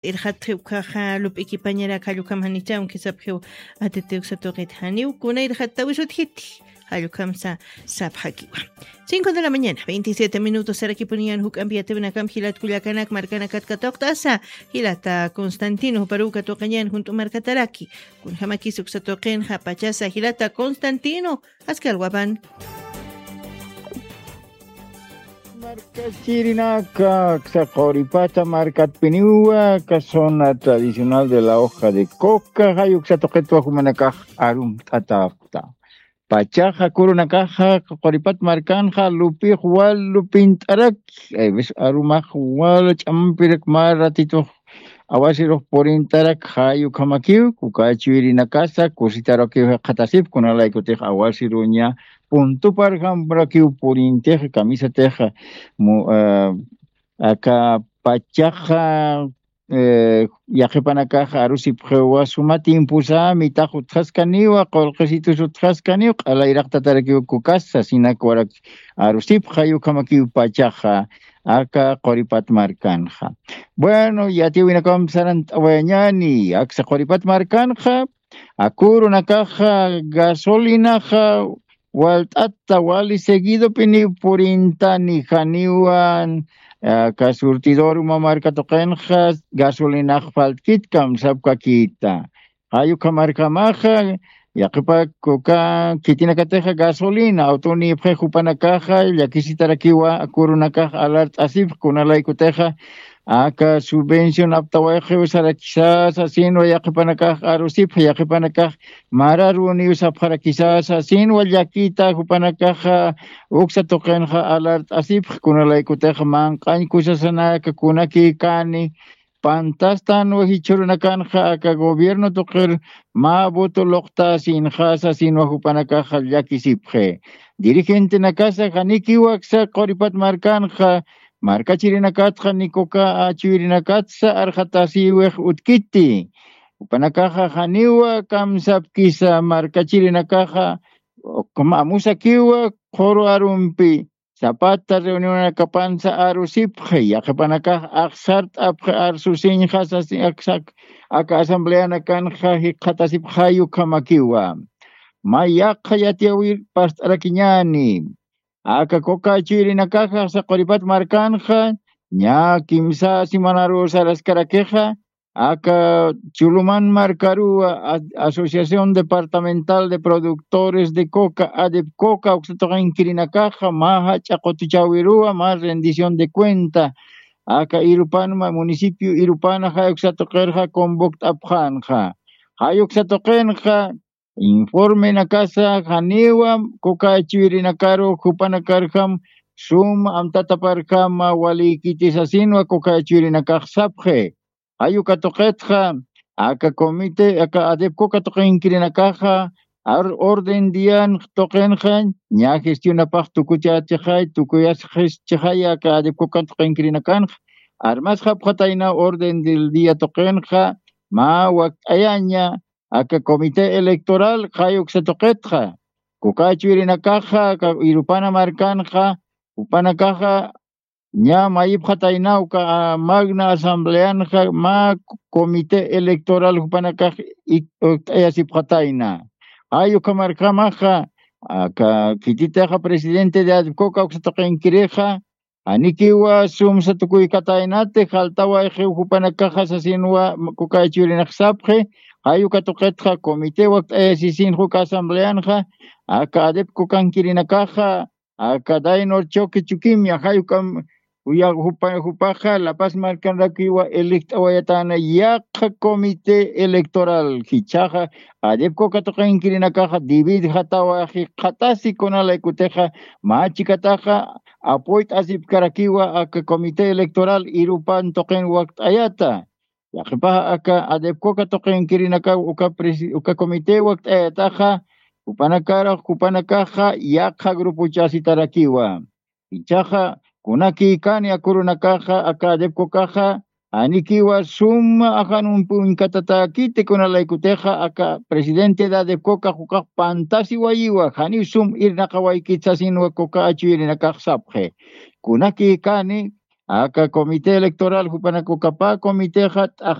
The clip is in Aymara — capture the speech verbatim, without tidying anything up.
Irxatxi ukhaxa lup'ikipañarak jallukam janichaw kisapxiw. Atitiw satuqit janiw kuna irxattawisutjiti. Jallukam sa sapxakiwa. Cinco de la mañana veintisiete minutos sarakipuniñan juk'ampi yatiwinakam jilat kullakanak markanakat katuqt'asa. Jilata constantino juparuw katuqañan junt'u markataraki. Kunjamakis uksa tuqinxa pachasa jilata constantino. Askalwapan. Markachirinaka aksa quripata markatpiniwa ka zona tradicional de la hoja de coca jay uksa tuqitwa jumanakax arumt'atapta. Pachaxa kurunakaxa quripat markanxa lupix wal lupint'araki. Ayvis arumax wal ch'ampirak mä ratitux awasirux purintarak jay ukhamakiw kuka chuyrinakasa kusitarakiw jikxatasip kunalaykutix awasiruña puntuparjamrakiw purintix kamisatix. Aka pachaxa yaqipanakax arusipxiwa suma tiemposa mitax utjaskaniwa qulqisitus utjaskaniw q'alayraqtatarakiw kukasa sinak warak arusipxa yukhamakiw pachaxa. Aka quripat markanxa. Bueno yatiwinakamp sarant'awayañani aksa quripat markanxa. Akurunakaxa gasolinaxa walt'ata wali seguidopiniw purintani janiwan aka surtidor uma marka tuqinxa gasolinax faltkit kamsapkakita. Jay ukhamarkamaxa yaqipak uka khitinakatixa gasolina awtunipxix jupanakaxa llakisitarakiwa akurunakax alart'asipx kunalaykutixa aka subvencionaptawayxiw sarakisasa sinwa yaqipanakax arusipx yaqipanakax mararuniw sapxarakisasa sinwa llakita jupanakaxa uksa tuqinxa alart'asipx kunalaykutixa manq'añ kusasanaka kunakïkani. Pantastanwa jichhurunakanxa aka gobierno tuqir mä voto luqtasinxasa sinwa jupanakaxa llakisipxi. Dirigentenakasa janikiw aksa quripat markanxa markachirinakatxa ni kuka achuyrinakatsa arxatasïwix utkiti. Jupanakaxa janiwa kamsapkisa markachirinakaxa amusakiwa qhuru arumpi sapata reunionakapansa arusipxi yaqipanakax axsart'apxi arsusiñxasa aka asambleanakanxa jikxatasipxay ukhamakiwa. Mä yaqha yatiyawir past'arakiñäni aka kuka chuyrinakaxa saquripat markanxa ñä kimsa simanaruw saraskarakixa aka chuluman markaruwa asociación departamental de productores de coca adep coca uksa tuqinkirinakaxa mä jach'a qutuchäwiruwa mä rendición de cuenta aka irupanma municipio irupana jay uksa tuqirxa convokt'apxänxa. Jay uksa tuqinxa informenakasa janiwa kuka chuyrinakaru jupanakarjam sum amtataparjama walïkiti sasinwa kuka chuyrinakax sapxi. Jay uka tuqitxa aka comité aka adep coca tuqinkirinakaxa ar orden dian tuqinxa ñä gestionapax tukuchächixay tukuyasxisxay aka adep coca tuqinkirinakanxa armasxapxatayna orden del dia tuqinxa mä wakt'ayaña aka comité electoral jay uksa tuqitxa kuka chuyrinakaxa aka irupana markanxa jupanakaxa ñä mayipxatayna uka magna asambleanxa mä comité electoral jupanakax ukt'ayasipxatayna. Jay ukhamarkamaxa aka khititixa presidente de adcoca uksa tuqinkirixa janikiwa sumsa tukuykataynati jaltawayxiw jupanakaxa sasinwa kuka chuyrinakax sapxi. Jay uka tuqitxa comité wakt'ayasisinxa uka asambleanxa aka adep cocankirinakaxa aka daynor choque chukimia jay ukam jupaxa lapas markanrakiwa elect'awayatana yaqha comité electoral jichhaxa adep coca tuqinkirinakaxa dividjatawa jikxatasi kunalaykutixa mä chikataxa apoyt'asipkarakiwa aka comité electoral irupan tuqin wakt'ayata. Yaqhipaxa aka adep coca tuqinkirinakaw uka comité wakt'ayataxa jupanakarux jupanakaxa yaqha grupochasitarakiwa. Ichaxa kunakïkani akurunakaxa aka adep cocaxa janikiwa suma ajanumpi uñkatatäkiti kunalaykutixa aka presidente de adep cocax ukax pantasiwayiwa janiw sum irnaqawaykit sasinwa coca achuyrinakax sapxi. Kunakïkani Aka comité electoral jupanakukapa comitexa